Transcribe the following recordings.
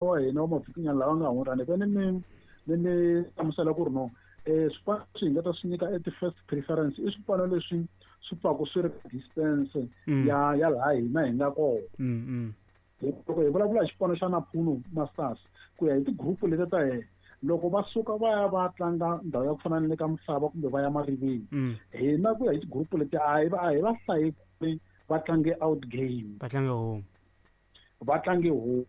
Wa hina wa mavhikinyana lawa nga hundza ni ve ni mi ni mi hlamusela ku ri no swipano leswi hi nga ta swi nyika e ti-first preference i swipano leswi swi pfaku swi ri distance ya laha hina hi nga kona. Loko hi vulavula hi xipano xa Naphuno Masters ku ya hi ti-group leti ta hina, loko va suka va ya va tlanga ndhawu ya ku fana na le ka Misava kumbe va ya Mariveni, hina ku ya hi ti-group leti a hi va hlayi ku ri va tlange out game. Va tlange home. Va tlange home.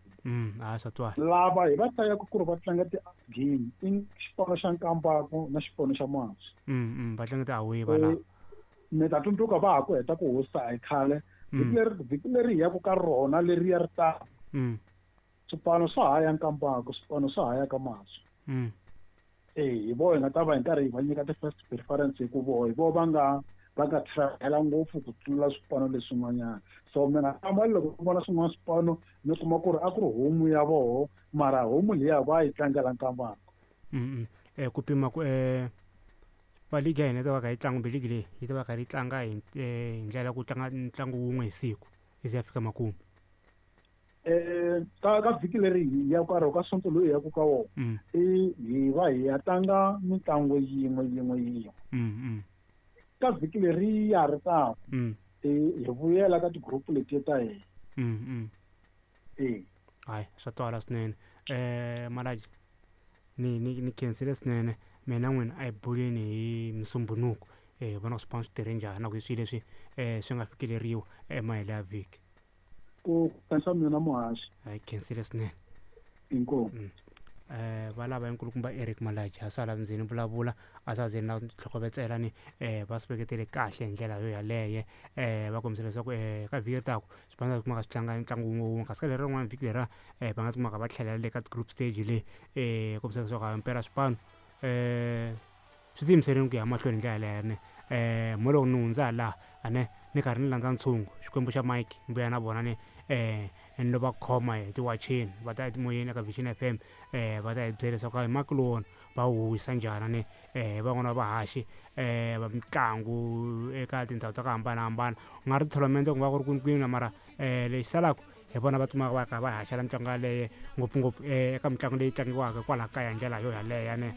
A swa twala. Lava hi va hlayaka ku ri va tlanga ti-out game i xipano xa Nkambako na xipano xa Maswi. Va tlanga ti-away va lava. Mi ta tsundzuka va ha ku heta ku hosta a hi khale vhiki leri, vhiki leri hi yaku ka rona leriya ri taka, swipano swa ha ya Nkambako, swipano swa ha ya ka Maswi. E hi voho hi nga ta va hi karhi hi va nyika ti-first preference hi ku voho hi voho va nga travel ngopfu ku tlula swipano leswin'wanyana. So mi nga hlamali loko mi vona swin'wana swipano mi kuma ku ri a ku ri home ya voho, mara home liya va yi tlangela Nkambako. Ku pima ku va ligi ya hina yi ta va kha yi tlanga kumbe ligi leyi yi ta va kha yi tlanga hi ndlela ya ku tlanga ntlangu wun'we hi siku yi ze ya fika makumu. Ka vhiki leri hi ya ka rona, ka Sonto loyi hi yaku ka wona, i hi va hi ya tlanga mitlangu yin'we yin'we yin'we. Ka vhiki leri ya ri taka, hi vuyela ka ti-group letiya ta hina. E. Hayi, swa twala swinene. Malaji, ni khensile swinene. Mina n'wina a hi buleni hi Musumbunuko, hi vona ku swipano swi tirhe njhani na ku hi swihi leswi swi nga fikeleriwa emahelo ya vhiki. Ku khensa mina, muhaxi. Hi khensile swinene. Inkomu. Va lava nkulukumba Eric Malaji a sala ndzeni vulavula a swa ze na tlhokovetsela ni va swi veketele kahle hi ndlela yo yaleye. Va kombisa leswaku ka vhiki leri taka swipano swi kumaka swi tlanga ntlangu wun'we wun'we, kasi ka leri rin'wana vhiki leriya va nga kumaka va tlhelela le ka group stage leyi, kombisa leswaku himpela swipano swi tiyimiserile ku ya mahlweni hi ndlela yaleyo ne. Mo loko ni hundza laha ane ni karhi ni landza ntshungu xikwembu xa Mike ni vuya na vona ni ni lo va khoma hi tiwacheni va ta etimoyeni eka Vision FM, va ta hi byela leswaku hi maki lowona va wu wisa njhani ni van'wana va vahaxi va mitlangu eka tindhawu ta ku hambanahambana, ku nga ri tournament, ku nga ku ri kwini kwini, mara lexi salaka hi vona va kumaka va kha va haxela mitlangu yaleyo, ngopfungopfu eka mitlangu leyi tlangiwaka kwalaha kaya hi ndlela yo yaleyo ne.